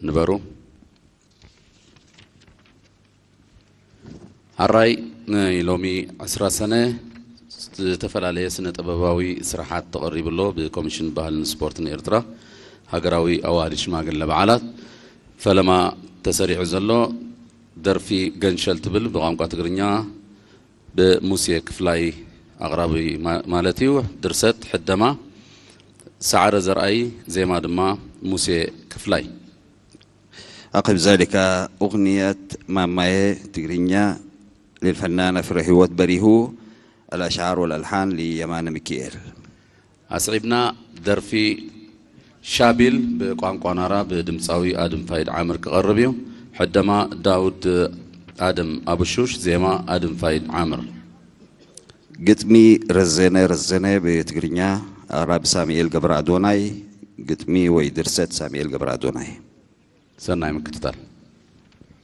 ንበሩ። ኣራይ ናይ ሎሚ ዕስራ ሰነ ዝተፈላለየ ስነ ጥበባዊ ስራሓት ተቐሪቡ ኣሎ። ብኮሚሽን ባህልን ስፖርትን ኤርትራ ሃገራዊ ኣዋህዲ ሽማግለ በዓላት ፈለማ ተሰሪዑ ዘሎ ደርፊ ገንሸል ትብል ብቋንቋ ትግርኛ ብሙሴ ክፍላይ ኣቕራቢ ማ-፣ ማለት እዩ። ድርሰት ሕደማ ሰዓረ ዘርኣይ፣ ዜማ ድማ ሙሴ ክፍላይ። أقف ذلك أغنية ماماي تقرينيا للفنانة فريهوت بريهو، الأشعار والألحان ليمانة ميكيئيل. ኣስዒብና ደርፊ ሻቢል ብቋንቋ ናራ ብድምፃዊ ኣድም ፋይድ ዓምር ክቐርብ እዩ። ሕደማ ዳውድ ኣድም ኣቡሹሽ፣ ዜማ ኣድም ፋይድ ዓምር። ግጥሚ ረዘነ ረዘነ ብትግርኛ፣ ኣቕራቢ ሳሙኤል ገብረ ኣዶናይ። ግጥሚ ወይ ድርሰት ሳሙኤል ገብረ ኣዶናይ። ሰናይ ምክትታል።